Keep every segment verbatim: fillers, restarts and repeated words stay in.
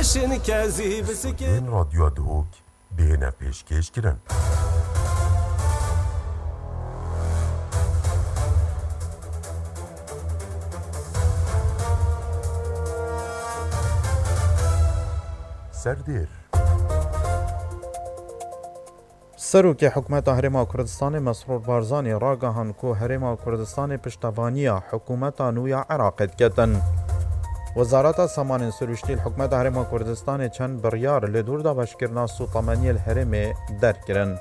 Bên Radyoya Duhok bihêne pêşkêş kirin. Serdêr. Serokê Hikûmeta Herêma Kurdistanê Mesrûr Barzanî ragihand ku Herêma Kurdistanê piştevaniya hikûmeta nû ya Iraqê diketin. Wezareta Samanên Sirûştî li Hikûmeta Herêma Kurdistanê çend biryar li dûr dabeşkirina sûtemeniyê li herêmê derkirin.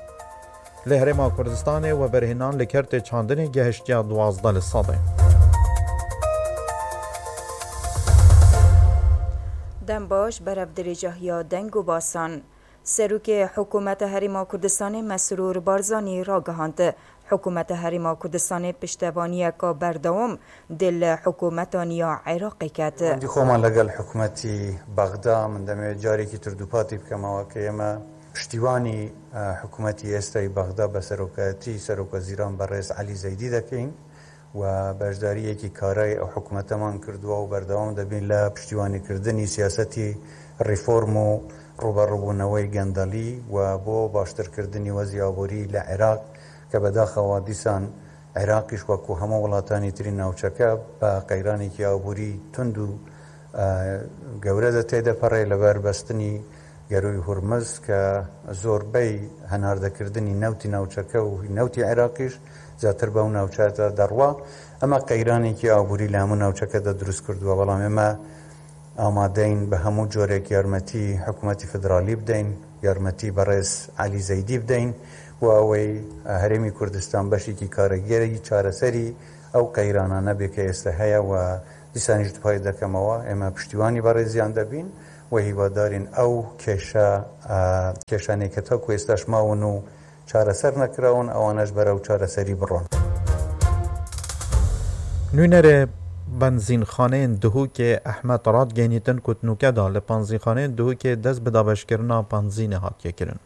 Li Herêma Kurdistanê weberhênan li kertê çandinê gehiştiya duwazdeh li sedê. Dem baş, berev dirêjahiya deng û basan. Serokê Hikûmeta Herêma Kurdistanê Mesrûr Barzanî ragihand, Hikûmeta Herêma Kurdistanê piştevaniyeka berdewam dê li hikûmeta nû ya Iraqê ket. Pêwendî xweman legel hikûmetî Bexda, min demê carekî tur dûpatî bikem, ewa ke ême piştîwanî, e, hikûmetî êstayî Bexda be serokayetî Serokwezîran Berêz Elî Zeydî dekin. و بەشدارییەکی کارای ئەو حکومەتەمان کردووە و بەردەوام دەبین لە پشتیوانیکردنی سیاسەتی ریفۆرم و ڕوبەڕووبوونەوەی گەندەڵی و بۆ باشترکردنی وەزی ئابووری لە عێراق، کە بەداخەوە دیسان عێراقیش وەکو هەموو وڵاتانی تری ناوچەکە بە قەیرانێکی ئابووری تند و، ئە، گەورە دەتێدەپەڕێ لەبەر بەستنی گەرووی هورمز کە زۆربەی هەناردەکردنی نەوتی ناوچەکە و نەوتی عێراقیش زیاتر بەو ناوچەیە دەڕوا. ئەمە قەیرانێکی ئابووری لە هەموو ناوچەکەدا دروست کردووە، بەڵام ئێمە ئامادەین بە هەموو جۆرێک یارمەتی حکوومەتی فیدرالی بدەین، یارمەتی بەڕێز عەلی زەیدی بدەین و ئەوەی هەرێمی کوردستان بەشێکی کارەگەری چارەسەری ئەو قەیرانانە بێ کە ئێستا هەیە و دیسانیش دوپای دەکەمەوە، ئێمە پشتیوانی بەڕێزیان دەبین و هیوادارین ئەو کێشە، ئە، کێشانەی کە تاکو ئێستاش ماون و چارەسەر نەکراون، ئەوانەش بەرەو چارەسەری بڕۆن. Nûnerê benzînxaneyên Duhokê Ehmed radgehînîtin ku di nûke de li benzînxaneyên Duhokê dest bi dabeşkirina benzînê hatiye kirin.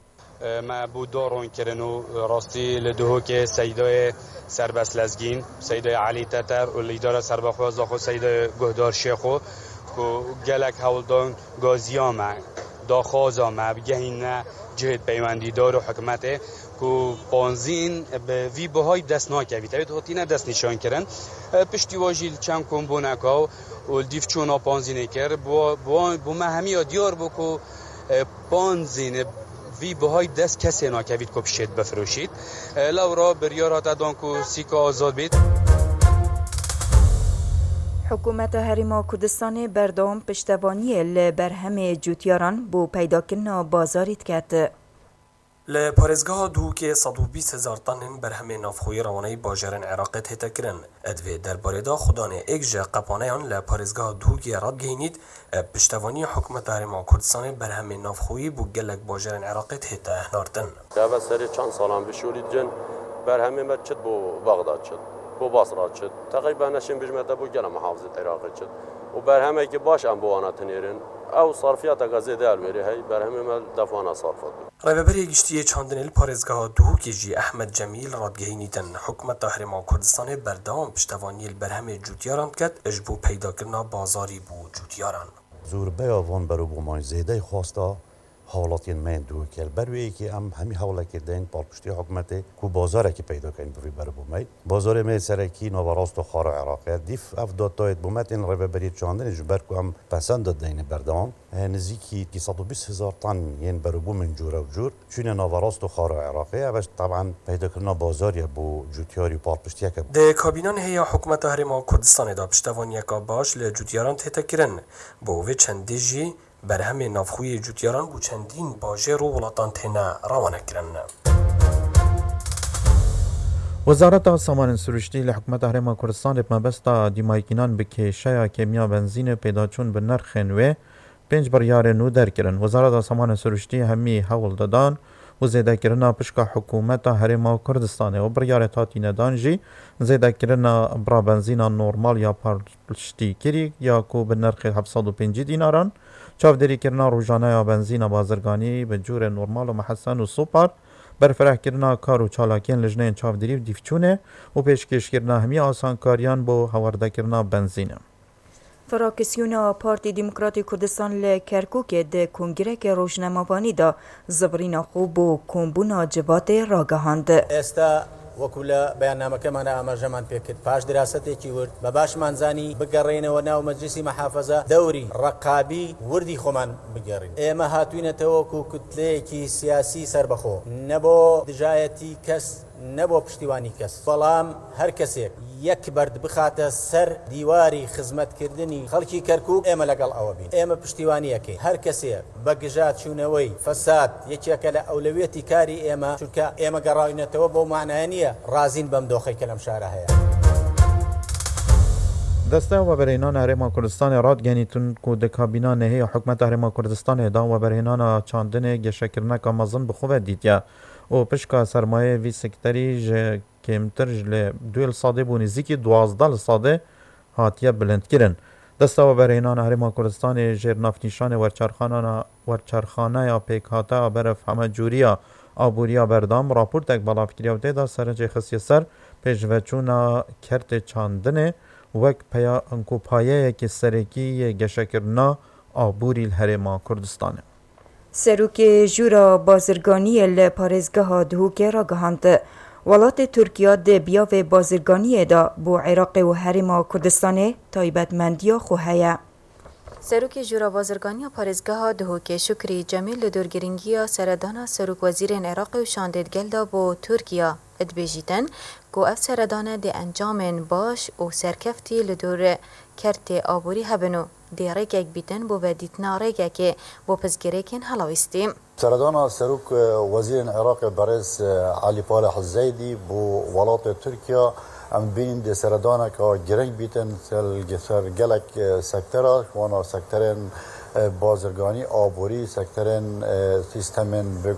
Me bû doron kirin û rastî li Duhokê Seydayê Serbest Lezgîn, Seydayê Elî Teter û li îdara serbexwe zaxo Seydayê Guhdar Şêxo ku gelek hewldan gaziya me, daxwaza me bigehîne cihêt peywendîdar û hikûmetê ku panzîn bi vî buhay dest nakevît. Ew hatine dest nîşan kirin. Piştî wa jî li çend kombûneka û li dîv çûna panzînê kir. Bo, bo, bo me hemiya diyar bû ku, e, panzîn vî buhay dest kesê nakevît ku pişêt bifiroşît. E, lewra biryar hate dan ku sîka azad bît. Hikûmeta Herêma Kurdistanê berdewam piştevaniyê li berhemê cûtyaran bo peydakirina bazarî diket. Li parêzgeha Duhokê sed û bîst hezar tenên berhemê navxweyî rewaneyî bajarên Iraqê tête kirin. Di vê derbarê de Xudanê Êk ji qepaneyan li parêzgeha Duhokê radgehînît, bi piştevaniya Hikûmeta Herêma Kurdistanê berhemê navxweyî bo gelek bajarên Iraqê tête hinartin. Deve serê çend salan bişûrît cin, berhemê me çit bo Bexda çit, bo Basra çit. Teqrîben neşên bijmete bo gele muhafizet Iraqê çit. Û berhemekî baş em bo wana tinêrin. Ew sarfiyateke zêde elwêrê hey, berhemê me li def wana sarf dibin. Rêveberê Giştî yê Çandinê li parêzgeha Duhokê jî Ehmed Cemîl radgehînîtin, Hikûmeta Herêma Kurdistanê berdewam piştevaniyê li berhemê cûtyaran diket, ji bo peydakirina bazarî bo cûtyaran. Zûrbeya van berobomayî zêdey xwesta hawlatiyên me yên Duhokê. Li ber wê yekê em hemî hewlekê deyn palpiştî hikûmetê ku bazarekî peyda kein bi vî berobomayî. Bazarê me yê serekî naverast û xara Iraqê ye. Dîf ev datayê bo me tên Rêveberiyê Çandinê ji ber ku em pesend dideyne berdewam. He, nizîkî sed û bîst hezar tan yên berobûmên cûre û cûr çûne naverast û xara Iraqê. Ev teben peydakirina bazarê bo cûtyarî û palpiştiyeke. Di kabînan hêya Hikûmeta Herêma Kurdistanê de piştevaniyeke baş li cûtyaran tête kirin. Bo vê çendê jî berhemê navxweyî cûtyaran bo çendîn bajêr û welatan têne rewanekirin. Wezareta Samanên Sirûştî li Hikûmeta Herêma Kurdistanê bi mebesta dîmaykînan bi kêşeya kêmiya benzînê pêdaçûn bi nirxên wê pênc biryarên nû derkirin. Wezareta Samanên Sirûştî hemî hewl didan û zêdekirina pişka Hikûmeta Herêma Kurdistanê û biryarê hatîne dan jî zêdekirina bira benzîna normal ya palpiştîkirî ya ku bi nirxê heft sed û pêncî dînaran, çavdêrîkirina rojaneya benzîna bazirganî bi cûrê normal û mihesen û supar, berfirehkirina kar û çalakiyên lijneyên çavdêrî û dîvçûnê û pêşkêşkirina hemî asankariyan bo hewardekirina benzînê. Fraksiyona Partî Demokratî Kurdistan li Kerkûkê di kongreke rojnamevanî de zivirîna xwe bo kombûna civatê ragihand. ئێستا وەکو لە بەیاننامەکەماندا ئاماژەمان پێکرد، پاش دراستێکی ورد بە باشمان زانی بگەڕێینەوە ناو مەجلیسی مەحافەزە، دەوری ڕەقابی وردی خۆمان بگێڕین. ئێمە هاتووینەتەوە وەکو کوتلەیەکی سیاسی سەربەخۆ، نە بۆ دژایەتی کەس، نە بۆ پشتیوانی کەس، بەڵام هەر کەسێک یەک بەرد بخاتە سەر دیواری خزمەتکردنی خەڵکی کەرکووک، ئێمە لەگەڵ ئەوە بین. ئێمە پشتیوانیەکەی هەر کەسێک بە گژا چوونەوەی فەساد یەکێکە لە ئەولەویەتی کاری ئێمە، چونکە ئێمە گەڕاوینەتەوە بۆ مانایە نییە ڕازین بەم دۆخەی کە لەم شارە هەیە. دەستە وەبەرهێنانە هەرێما کوردستانێ ڕادگەنیتون کو دە کابینا نەهەیە حکومەتە هەرێما کوردستانێدا وەبەرهێنانە چاندنێ گەشەکردنەکە مەزن بخوبە دیتە و پشکا سەرمایە وی سکتەری ژە کێمتر ژ لە دوێ لە سادێ بوو نزیکی دوازدە لە سادێ هاتیە بلندکردن. دەستە وەبەرهێنانە هەرێما کوردستانێ ژێر نافنیشانێ وەرچەرخانانە وەرچەرخانەیە پێکهاتە بەرەف هەمە جووریە ئابووریە بەردام راپورتێک بەڵاو کریە و تێدا سەرنجێ خستیە سەر پێشڤەچوونا کەرتێ چاندنێ وەک پەیا ئەنکۆ پایەیەکی سەرەکی یە گەشەکردنا ئابووری لە هەرێما کوردستانێ. Serokê Jûra Bazirganiyê li parêzgeha Duhokê ragihand, welatê Tirkiye di biyavê bazirganiyê de bo Iraqê û Herêma Kurdistanê taybetmendiya xwe heye. Serokê Jûra Bazirganiya Parêzgeha Duhokê Şukrî Cemîl li dor girîngiya seredana Serok Wezîrên Iraqê û şandê di gel de bo Tirkiye dibêjîtin ku ev seredane dê encamên baş û serkeftî li dor kertê aborî hebin û dê rêkek bîtin bo vedîtina rêkekê bo pirsgirêkên helawîstî. Seredana Serok, e, Wezîrên Iraqê Berêz, e, Elî Faleh Zeydî bo welatê Tirkiye, em bînin dê seredaneka girîng bîtin ser, ser gelek, e, sektera, wana sekterên, e, bazirganî, aborî, sekterên, e, sîstemên bi